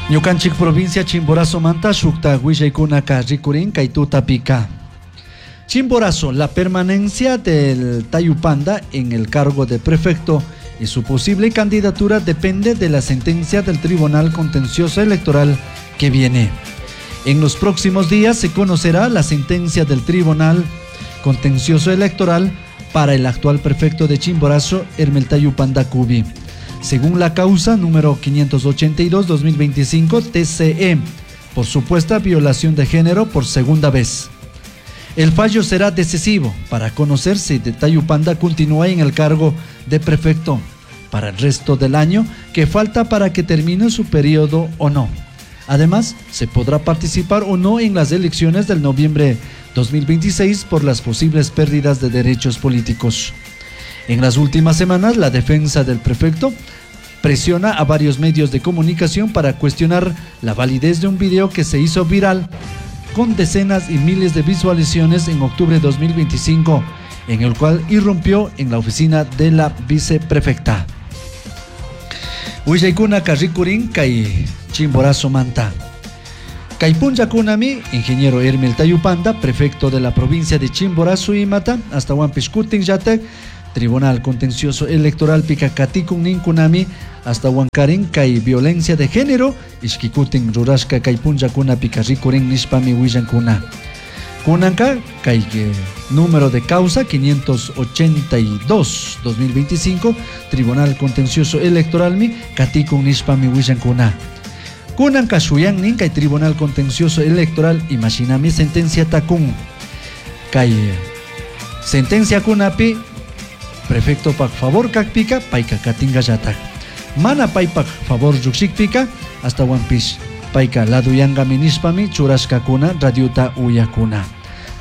Ñukanchik provincia Chimborazo manta shukta willaykunaka rikurin kay tutapika. Chimborazo, la permanencia del Tayupanda en el cargo de prefecto y su posible candidatura depende de la sentencia del Tribunal Contencioso Electoral que viene. En los próximos días se conocerá la sentencia del Tribunal Contencioso Electoral para el actual prefecto de Chimborazo, Hermel Tayupanda Cubi. Según la causa número 582-2025 TCE, por supuesta violación de género por segunda vez. El fallo será decisivo para conocer si Tayupanda continúa en el cargo de prefecto para el resto del año que falta para que termine su periodo o no. Además, se podrá participar o no en las elecciones del noviembre 2026 por las posibles pérdidas de derechos políticos. En las últimas semanas, la defensa del prefecto presiona a varios medios de comunicación para cuestionar la validez de un video que se hizo viral con decenas y miles de visualizaciones en octubre de 2025, en el cual irrumpió en la oficina de la viceprefecta. Willaykuna rikurin kay Chimborazo manta. Kay punllakunami, ingeniero Hermel Tayupanda, prefecto de la provincia de Chimborazo imata, hasta kutin llatak, Tribunal Contencioso Electoral pika katikun ninkunami, hasta huankarin kay violencia de género, ishkikutin rurashka kay punllakunapika rikurin nishpami willankuna. Kunanka kay número de causa 582-2025, Tribunal Contencioso Electoral mi katikun nishpami willankuna. Kunanka shuyannin kay Tribunal Contencioso Electoral imashinami sentencia takun. Kay sentencia kunapi prefecto pak favor kakpika payka katingallatak. Mana paypak favor llukshikpika ashtawanpish payka laduyankami nishpami churashkakuna radiota uyakuna.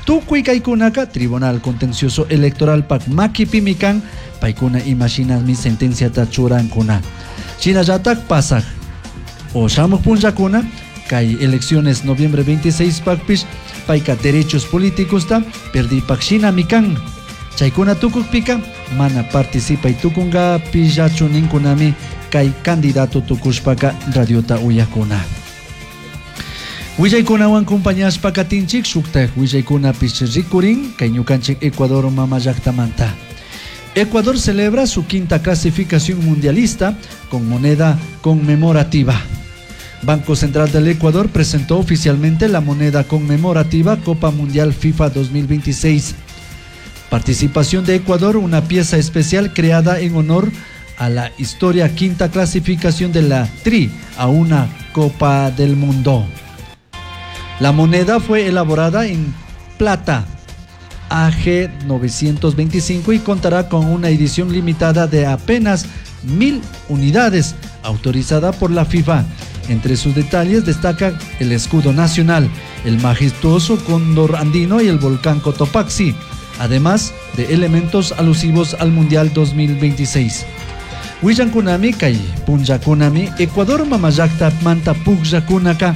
Tukuy kaykunaka Tribunal Contencioso Electoral pak makipimi kan paykuna imashinami sentenciata churankuna. Shinallatak pasak o shamuk punllakuna kay elecciones noviembre 26 pakpish payka derechos políticos ta perdipak shinami kan. Chaykuna tukukpika mana participay tukunka pillachu ninkunami kay candidato tukushpaka radiota uyakuna. Willaykunawan compañashpa katinchik shuktak willaykunapish rikurin kay ñukanchik Ecuador mama llaktamanta. Ecuador celebra su quinta clasificación mundialista con moneda conmemorativa. Banco Central del Ecuador presentó oficialmente la moneda conmemorativa Copa Mundial FIFA 2026. Participación de Ecuador, una pieza especial creada en honor a la historia quinta clasificación de la Tri a una Copa del Mundo. La moneda fue elaborada en plata AG 925 y contará con una edición limitada de apenas 1.000 unidades, autorizada por la FIFA. Entre sus detalles destaca el escudo nacional, el majestuoso cóndor andino y el volcán Cotopaxi, además de elementos alusivos al Mundial 2026. Willankunami kay punllakunami Ecuador mamallakta manta pukllakunaka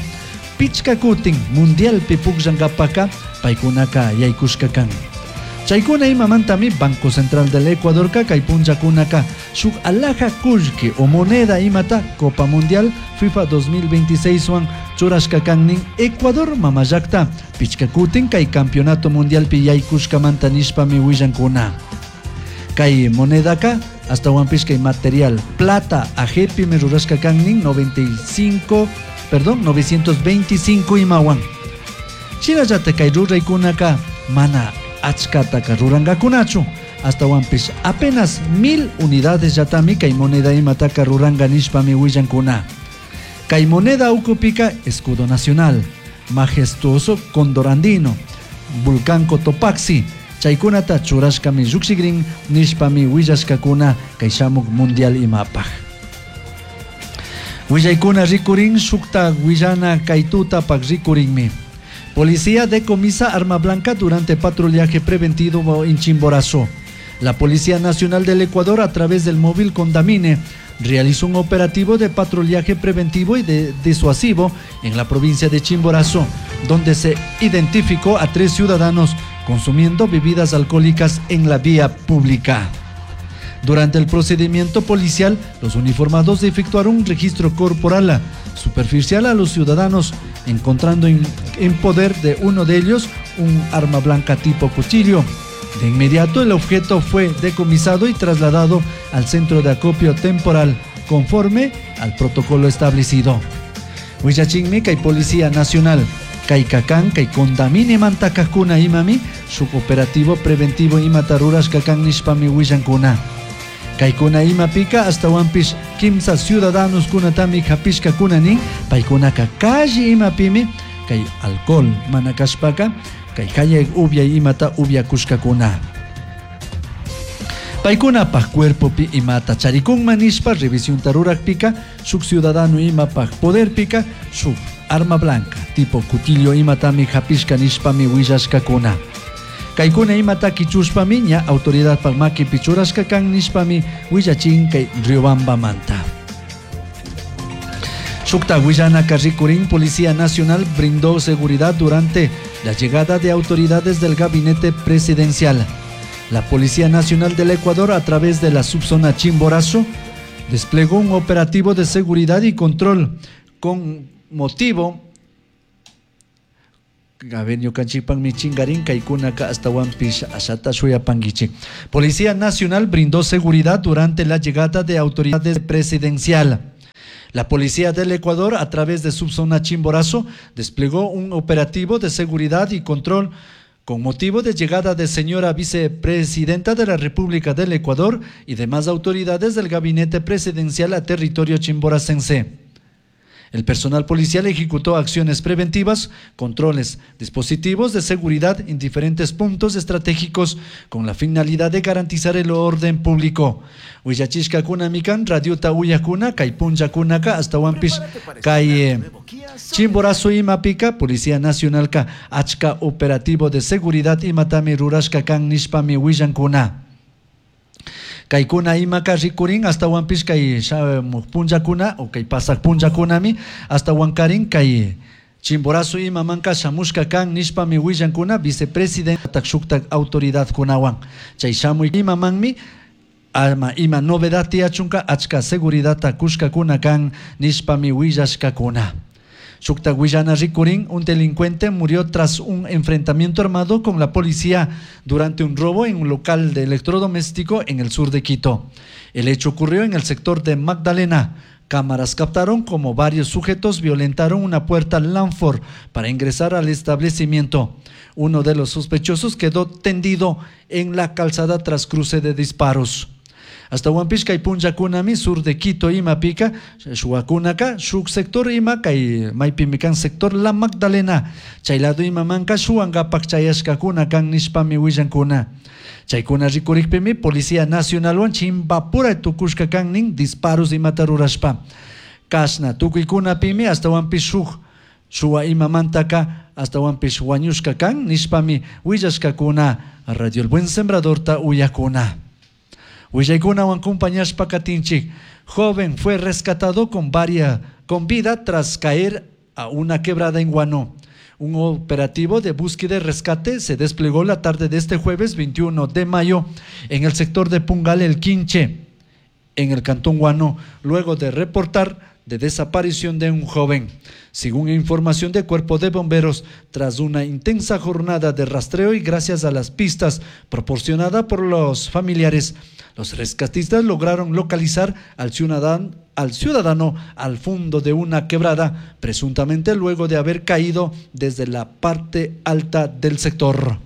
pichka kutin mundialpi pukllankapaka paykunaka yaykushka kan. Chaykuna imamantami Banco Central del Ecuadorka kay punllakunaka shuk alhaja kullki o moneda imata Copa Mundial FIFA 2026 wan churashka kan nin Ecuador mamallakta pichka kutin kay campeonato mundialpi yaykushkamanta nishpami willankuna. Kay monedaka ashtawanpish kay material plata AG pimi rurashka kan nin 95, perdón, 925 imawan. Shinallata kay ruraykunaka mana achkataka rurangakunachu. Ashtawanpish apenas 1000 unidades llatami kay moneda imataka ruranga nishpami willankuna. Kay moneda ukupika escudo nacional, majestuoso cóndor andino, volcán Cotopaxi, chaykunata churashkami llukshikrin nishpami willashkakuna kay shamuk mundial imapaj. Willaykuna rikurin shukta willana kay tutapak rikurinmi. Policía decomisa arma blanca durante patrullaje preventivo en Chimborazo. La Policía Nacional del Ecuador, a través del móvil Condamine, realizó un operativo de patrullaje preventivo y de disuasivo en la provincia de Chimborazo, donde se identificó a 3 ciudadanos consumiendo bebidas alcohólicas en la vía pública. Durante el procedimiento policial, los uniformados efectuaron un registro corporal, superficial a los ciudadanos, encontrando en poder de uno de ellos un arma blanca tipo cuchillo. De inmediato el objeto fue decomisado y trasladado al centro de acopio temporal conforme al protocolo establecido. Huillachinmi kay Policía Nacional kayka kan kay Condamine mantakakuna imami shuk operativo preventivo imata rurashka kan nishpami willankuna. Kaykuna imapika ashtawanpish kimsa ciudadanos kunatami hapishkakuna nin paykunaka calle imapimi kay alcohol mana kashpaka kay hayay upyay imata upyakushkakuna. Paykunapaj cuerpopi imata charikunman nishpa revisionta rurakpika shuk ciudadano imapaj poderpika shuk arma blanca tipo cuchillo imatami hapishka nishpami willashkakuna. Kaykuna imata kichushpami ña autoridadpaj makipi churashka kan nishpami willachin kay Riobambamanta. Shukta willanaka rikurin Policía Nacional brindó seguridad durante la llegada de autoridades del gabinete presidencial. La Policía Nacional del Ecuador, a través de la subzona Chimborazo, desplegó un operativo de seguridad y control con motivo A ver, ñukanchikpakmi chingarin kaykunaka ashtawanpish ashata shuyapankichik. Policía Nacional brindó seguridad durante la llegada de autoridades presidencial. La Policía del Ecuador, a través de subzona Chimborazo, desplegó un operativo de seguridad y control con motivo de llegada de señora vicepresidenta de la República del Ecuador y demás autoridades del gabinete presidencial a territorio chimboracense. El personal policial ejecutó acciones preventivas, controles, dispositivos de seguridad en diferentes puntos estratégicos con la finalidad de garantizar el orden público. Willachishkakuna kan radiota uyakuna kay punllakunaka ashtawanpish kay Chimborazo imapika Policía Nacionalka achka operativo de seguridad imatami rurashka kan nishpami willankuna. Kaykuna imaka rikurin ashtawanpish kay shamuj punllakuna o kay pasak punllakunami ashtawankarin kay Chimborazo imamanka shamushka kan nishpami willankuna vicepresidenta shuktak autoridadkunawan. Chay shamuy imamanmi ama ima novedad tiyachunka achka seguridadta kushkakuna kan nishpami willashkakuna. Shukta willana rikurin, un delincuente murió tras un enfrentamiento armado con la policía durante un robo en un local de electrodoméstico en el sur de Quito. El hecho ocurrió en el sector de Magdalena. Cámaras captaron como varios sujetos violentaron una puerta Lanford para ingresar al establecimiento. Uno de los sospechosos quedó tendido en la calzada tras cruce de disparos. Ashtawanpish kay punllakunami sur de Quito imapika shuwakunaka shuk sector ima kay maypimi kan sector La Magdalena chay lado imamanka shuwankapak chayashkakuna kan nishpami willankuna. Chaykuna rikurikpimi Policía Nacionalwan chimpapura tukushka kan nin disparos imata rurashpa. Kashna tukuykunapimi ashtawanpish shuk shuwa imamantaka ashtawanpish wañushka kan nishpami willashkakuna Radio El Buen Sembradorta uyakuna. Willaykunawan acompañashpa katinchik. Joven fue rescatado con vida tras caer a una quebrada en Guano. Un operativo de búsqueda y rescate se desplegó la tarde de este jueves 21 de mayo en el sector de Pungal El Quinche, en el cantón Guano, luego de reportar de desaparición de un joven. Según información del Cuerpo de Bomberos, tras una intensa jornada de rastreo y gracias a las pistas proporcionadas por los familiares, los rescatistas lograron localizar al ciudadano al fondo de una quebrada, presuntamente luego de haber caído desde la parte alta del sector.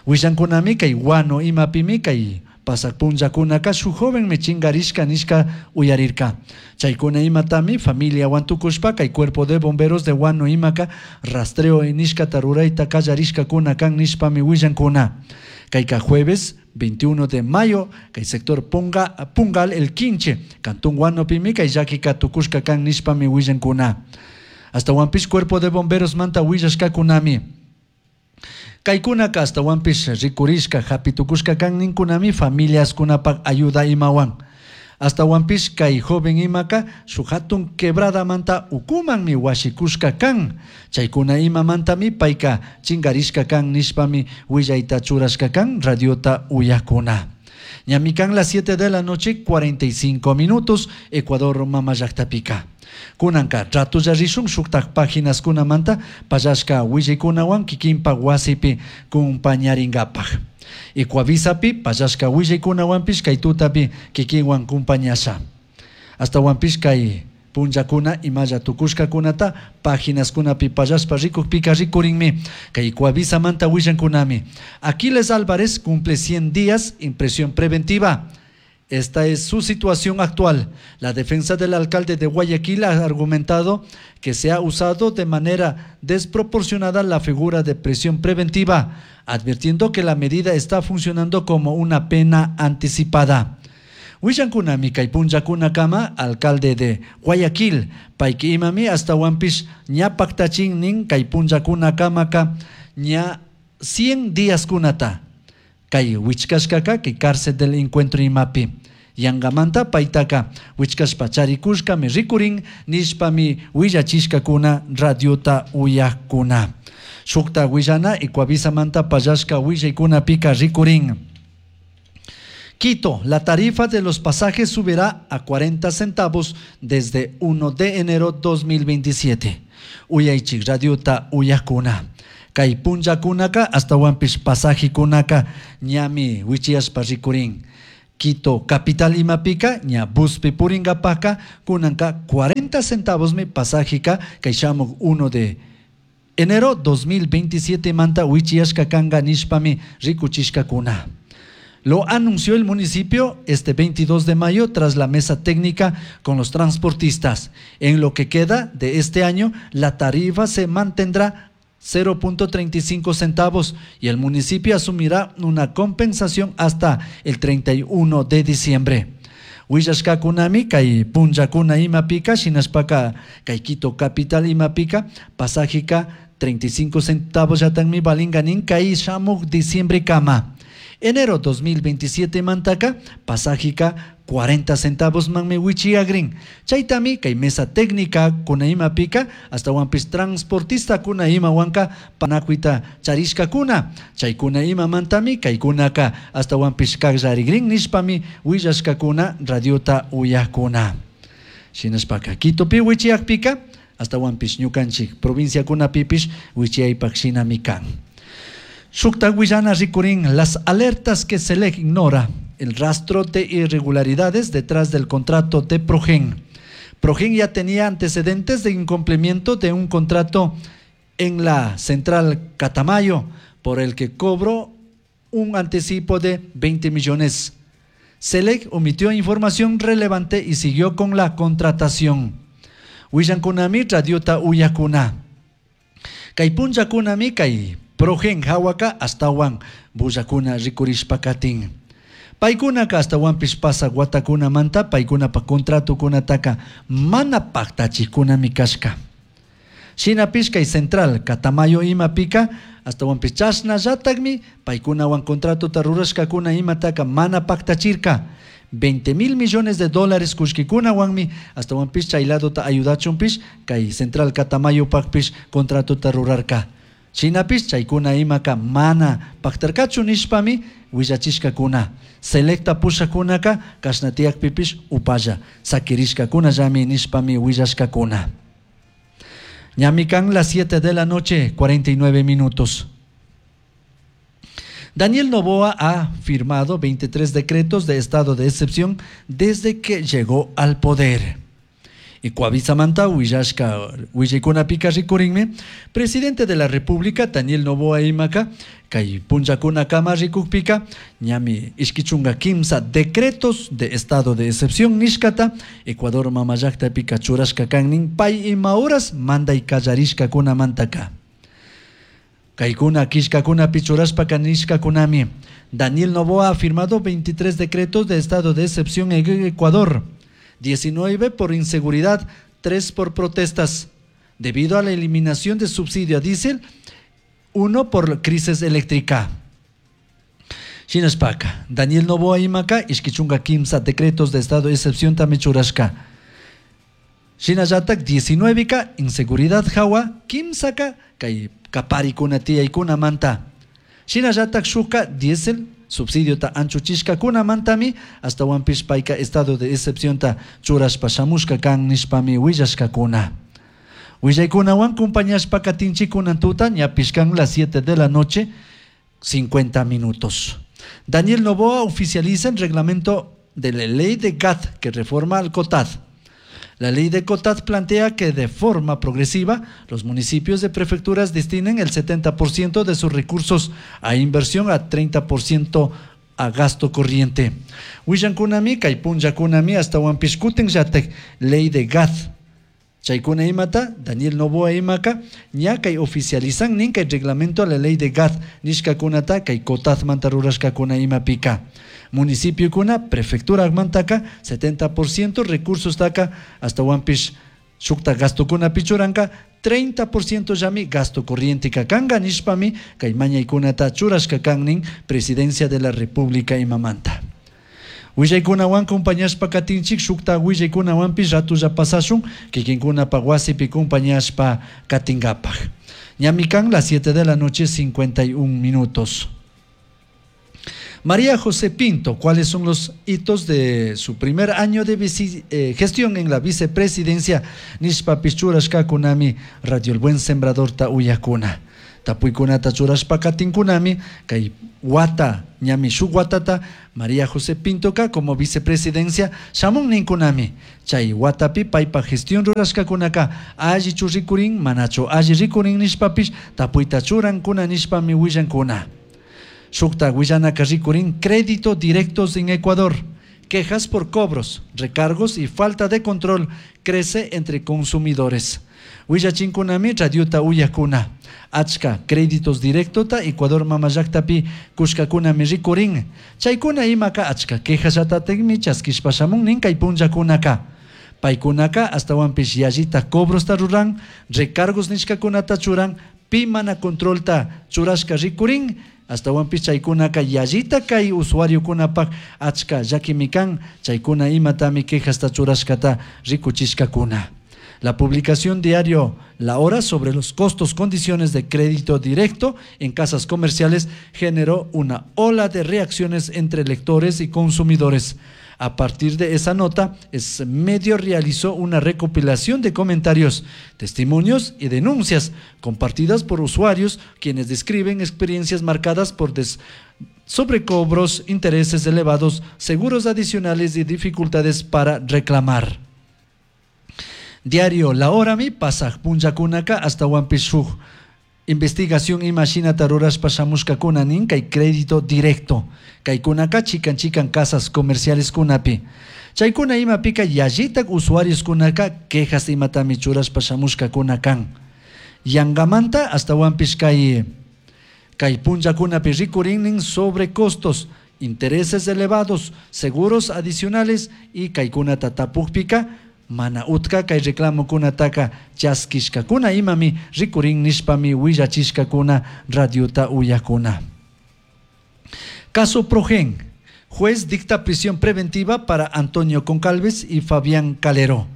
Willankunami kay Guano imapimi kay pasak punllakunaka shuk joven mi chingarishka nishka uyarirka. Chaykuna imatami familia wantukushpa kay Cuerpo de Bomberos de Guano imaka rastreo nishkata rurayta kallarishkakuna kan nishpami willankuna. Kayka jueves 21 de mayo kay sector Pungal El Quinche, cantón Guano pimi kay llakika tukushka kan nishpami willankuna. Ashtawanpish Cuerpo de Bomberos manta willashkakunami. Kaykunaka ashtawanpish rikurishka hapitukushka kan ninkunami familiaskunapak ayuda imawan. Ashtawanpish kay joven imaka shuk hatun quebradamanta ukumanmi washikushka kan. Chaykuna imamantami payka chingarishka kan nishpami willayta churashka kan radiota uyakuna. Ñami kan las 7 de la noche 45 minutos, Ecuador mama llaktapika. Kunanka ratolla rishun shuktak paginaskunamanta pallashka willaykunawan kikinpak wasipi kumpañarinkapak. Ecuavisapi pallashka willaykunawanpish kay tutapi kikinwan kumpañasha. Astawanpish kay punllakuna imalla tukushkakunata paginaskunapi pallashpa rikukpika rikurinmi. Kay Ecuavisamanta willankunami. Aquiles Álvarez cumple 100 días en prisión preventiva. Esta es su situación actual. La defensa del alcalde de Guayaquil ha argumentado que se ha usado de manera desproporcionada la figura de prisión preventiva, advirtiendo que la medida está funcionando como una pena anticipada. Willankunami kay punllakunakama alcalde de Guayaquil, payki imami astawanpish ña paktachin nin kay punllakunakamaka ña 100 días kunata. Kay wichkashkaka kay cárcel del encuentro imapi. Yangamanta paytaka wichkashpa charikushkami rikurin nishpami willachishkakuna radiota uyakuna. Shukta willana Ecuavisamanta pallashka willaykunapika rikurin. Quito, la tarifa de los pasajes subirá a 40 centavos desde 1 de enero 2027. Uyaychik radiota uyakuna. Kay punllakunaka astawanpish pasajikunaka ñami wichiyashpa rikurin. Quito capital imapika ña buspi purinkapaka kunanka 40 centavos mi pasajika kay shamuk 1 de enero 2027 manta wichiyashka kanka nishpami rikuchishkakuna. Lo anunció el municipio este 22 de mayo tras la mesa técnica con los transportistas. En lo que queda de este año, la tarifa se mantendrá 0.35 centavos y el municipio asumirá una compensación hasta el 31 de diciembre. Willashkakunami kay punllakuna imapika shinashpaka kay Quito capital imapika pasajika 35 centavos yatanmi valinga nin kay shamuk diciembre kama. Enero 2027 mantaka pasajika 40 centavos manmi wichiyagrin. Chaytami kay mesa técnica kuna imapika astawanpis transportista kuna imawanka panakuita charishkakuna. Chaykuna imamantami kaykunaka astawanpis kakllarigrin nishpami willashkakuna radiota uyakuna. Shinashpaka Quitopi wichiyakpika astawanpis ñukanchik provinciakunapipish wichiyaypak shinami kan. Shukta willana rikurin las alertas que Celec ignora, el rastro de irregularidades detrás del contrato de Progen. Progen ya tenía antecedentes de incumplimiento de un contrato en la central Catamayo, por el que cobró un anticipo de 20 millones. Celec omitió información relevante y siguió con la contratación. Willankunami radiota uyakuna. Kay punllakunami kay Progen hawaka astawan bullakuna rikurishpakatin. Paykunaka astawanpish pasak watakunamanta paykunapa contratokunataka mana paktachikunami kashka. Shinapish kay central Catamayo imapika astawanpish chashnallatakmi paykunawan contratota rurashkakuna imataka mana paktachirka. 20 mil millones de dólares kullkikunawanmi astawanpish chay ladota ayudachunpish kay central Catamayopakpish contratota rurarka. Shinapish chaykuna imaka mana paktarkachu nishpami willachishkakuna. Selecta pushakunaka kashna tiyakpipish upalla sakirishkakunallami nishpami willashkakuna. Ñami kan las 7 de la noche, 49 minutos. Daniel Noboa ha firmado 23 decretos de estado de excepción desde que llegó al poder. Ecuavisamanta willashka willaykunapika rikurinmi presidente de la República Daniel Noboa imaka kay punllakunakama rikukpika ñami ishkichunka kimsa decretos de estado de excepción nishkata Ecuador mama llaktapika churashka kan pay ima horas manday kallarishkakunamantaka. Kaykuna killkakunapi churashpaka nishkakunami. Daniel Noboa ha firmado 23 decretos de estado de excepción en Ecuador, 19 por inseguridad, 3 por protestas, debido a la eliminación de subsidio a diésel, 1 por crisis eléctrica. Shinashpaka, Daniel Noboa imaka, ishkichunka kimsa decretos de estado de excepción tami churashka. Shinallatak 19 ka inseguridad hawa, kimsaka kay kaparikuna tiyaykunamanta. Shinallatak shuka diésel Subsidiota anchuchishcacunamantami ashtahuanpish paica estado de excepcionta churashpa shamushca can nishpami huillashcacuna. Huillaicunahuan compañashpa katinchik tuta ñapish can las 7 de la noche 50 minutos. Daniel Noboa oficializa el reglamento de la ley de GAD que reforma al COTAD. La ley de COTAD plantea que de forma progresiva los municipios de prefecturas destinen el 70% de sus recursos a inversión, a 30% a gasto corriente. Huillancunami, kay punllakunami, ashtahuanpish kutinllatak ley de GAD. Chaykuna imata, Daniel Noboa imaka, ña kay oficializan nin kay reglamento a la ley de GAD nishkakunata kay COTAD manta rurashkakuna imapika. Municipiokuna, prefectura mantaka, 70% recursos taka, ashtahuanpish shukta gastokunapi churanka, 30% llami gasto corriente kanga nishpami kay mañaykunata churashka kan nin Presidencia de la República imamanta. Willaykunawan compañashpa katinchik shukta willaykunawanpish ratulla pasashun kikinkunapa wasipi compañashpa katingapaj. Ñami kan las 7 de la noche 51 minutos. María José Pinto, ¿cuáles son los hitos de su primer año de gestión en la vicepresidencia? Nishpapish churashkakunami Radio El Buen Sembrador ta uyakuna. Tapuykunata churashpa katinkunami kay wata ñami shuk watata María José Pintoka como vicepresidencia shamun ninkunami. Chay watapi paypa gestión rurashkakunaka allichu rikurin manachu alli rikurin nishpapish tapuyta churankuna nishpami willankuna. Shukta willanaka rikurin crédito directos en Ecuador. Quejas por cobros, recargos y falta de control crece entre consumidores. Willachinkunami radiota uyakuna. Achka créditos directota Ecuador mama llaktapi kushkakunami rikurin. Chaykuna imaka achka quejasllatatikmi chaskishpa shamun nin kay punllakunaka. Paykunaka ashtahuanpish yallita cobrosta ruran, recargos nishkakunata churan, pi mana controlta churashka rikurin, ashtahuanpish chaykunaka yallita kay usuariokunapak achka llakimi kan, chaykuna imatami quejasta churashkata rikuchishkakuna. La publicación diario La Hora sobre los costos, condiciones de crédito directo en casas comerciales generó una ola de reacciones entre lectores y consumidores. A partir de esa nota, es medio realizó una recopilación de comentarios, testimonios y denuncias compartidas por usuarios quienes describen experiencias marcadas por sobrecobros, intereses elevados, seguros adicionales y dificultades para reclamar. Diario La Hora mi pasaj punllakunaka ashtahuanpish shuk investigación imashinata rurashpa shamushkakuna nin kay crédito directo kaykunaka chikan chikan casas comerciales kunapi chaykuna imapika yallitak usuarios kunaka quejas imatami churashpa shamushkakuna kan yangamanta ashtahuanpish kay punllakunapi rikurin sobrecostos, intereses elevados, seguros adicionales y kaykunata tapukpika mana utka kay reclamokunataka chaskishkakuna imami rikurin nishpami willachishkakuna radiota uyakuna. Caso Progen. Juez dicta prisión preventiva para Antonio Goncalves y Fabián Calero.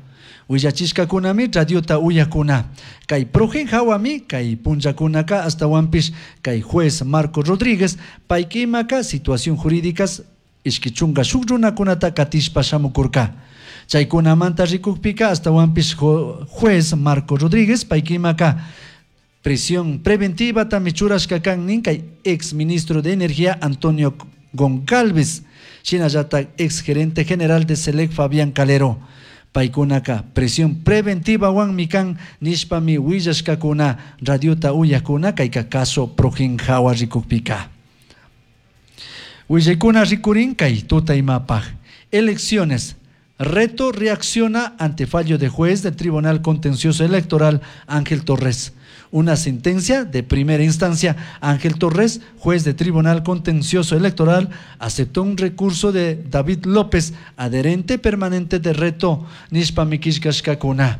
Willachishkakunami radiota uyakuna. Kay Progen hawami kay punllakunaka ashtahuanpish kay juez Marco Rodríguez paykimaka situación jurídicas ishki chunga shuk runakunata katishpa shamukurka. Chaykunamanta rikukpika ashtahuanpish juez Marco Rodríguez paykimaka prisión preventiva tami churashka kan nin kay ex ministro de Energía Antonio Goncalves, shinallatak ex gerente general de Selec Fabián Calero. Paykunaka prisión preventiva wanmi kan nishpami willashkakuna radiota uyakuna kayka caso Progen hawa rikukpika. Willaykuna rikurin kay tuta imapaj. Elecciones. Reto reacciona ante fallo de juez del Tribunal Contencioso Electoral Ángel Torres. Una sentencia de primera instancia, Ángel Torres, juez de Tribunal Contencioso Electoral, aceptó un recurso de David López, adherente permanente de Reto nishpami killkashkakuna.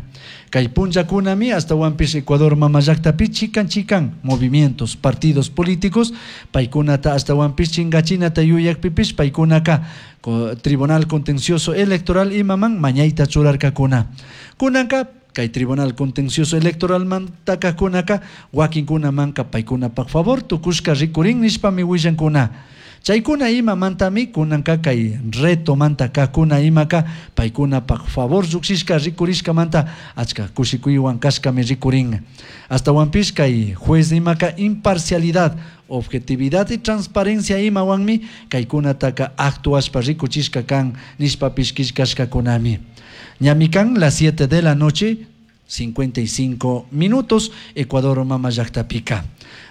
Kay punllakunami ashtahuanpish Ecuador mama llaktapi chikan chikan movimientos, partidos políticos, paykunata ashtahuanpish chingachinata yuyakpipish paykunaka Tribunal Contencioso Electoral imaman mañayta churarkakuna. Kunanka kay Tribunal Contencioso Electoral mantaka kunaka wakinkuna manka paykunapak favor tukushka rikurin nishpami willankuna. Chaykuna imamantami kunanka kay retomanta kajkuna imaka paykunapak favor llukshishka rikurishkamanta achka kushikuywan kashkami rikurin. Astawanpish kay juez imaka imparcialidad, objetividad y transparencia imawanmi kaykunataka actuashpa rikuchishka kan nishpapish killkashkakunami. Ñami kan las 7 de la noche 55 minutos Ecuador mama llactapika.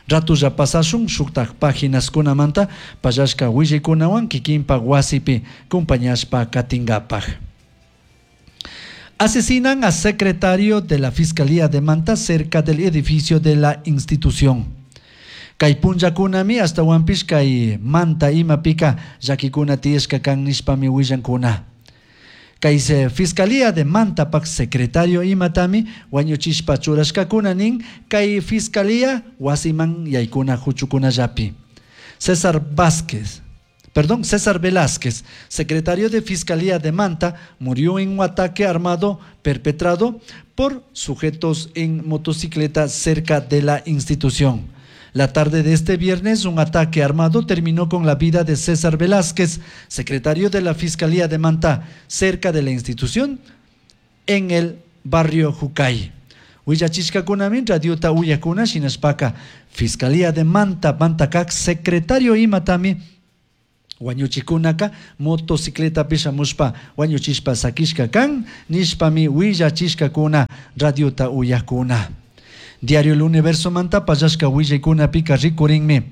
Ratulla pasashun shuktak paginaskunamanta pallashka willaykunawan kikinpak wasipi compañashpa katinkapak. Asesinan a secretario de la Fiscalía de Manta cerca del edificio de la institución. Kay punllakunami astawanpish kay Manta imapika llakikuna tiyashka kan nishpami willankuna. Kay Fiscalía de Mantapak secretario imatami wañuchishpa churashkakuna nin kay Fiscalía wasiman yaykuna huchukunallapi. César Vázquez, perdón, César Velázquez, secretario de Fiscalía de Manta, murió en un ataque armado perpetrado por sujetos en motocicleta cerca de la institución. La tarde de este viernes, un ataque armado terminó con la vida de César Velázquez, secretario de la Fiscalía de Manta, cerca de la institución, en el barrio Jucay. Willachishkakunami radiota uyakuna shinashpaka Fiscalía de Manta, Mantakak, secretario imatami wañuchikunaka motocicletapi shamushpa wañuchishpa sakishka kan nishpami willachishkakuna radiota uyakuna. Diario El Universo manta pallashka willaykunapika rikurinmi.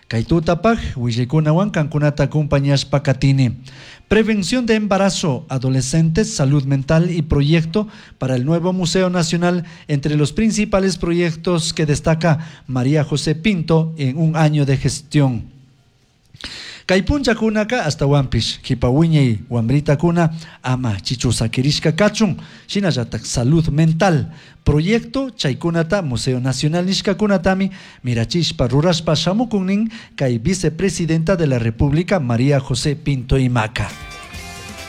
Kay tutapaj willaykunawan kankunata acompañashpa katini. Prevención de embarazo, adolescentes, salud mental y proyecto para el nuevo Museo Nacional, entre los principales proyectos que destaca María José Pinto en un año de gestión. Kay punllakunaka astawanpish kipa wiñay wambritakuna ama chichu sakirishka kachun shinallatak salud mental proyecto chaykunata Museo Nacional nishkakunatami mirachishpa rurashpa shamukunnin kay vicepresidenta de la República María José Pinto Imaca.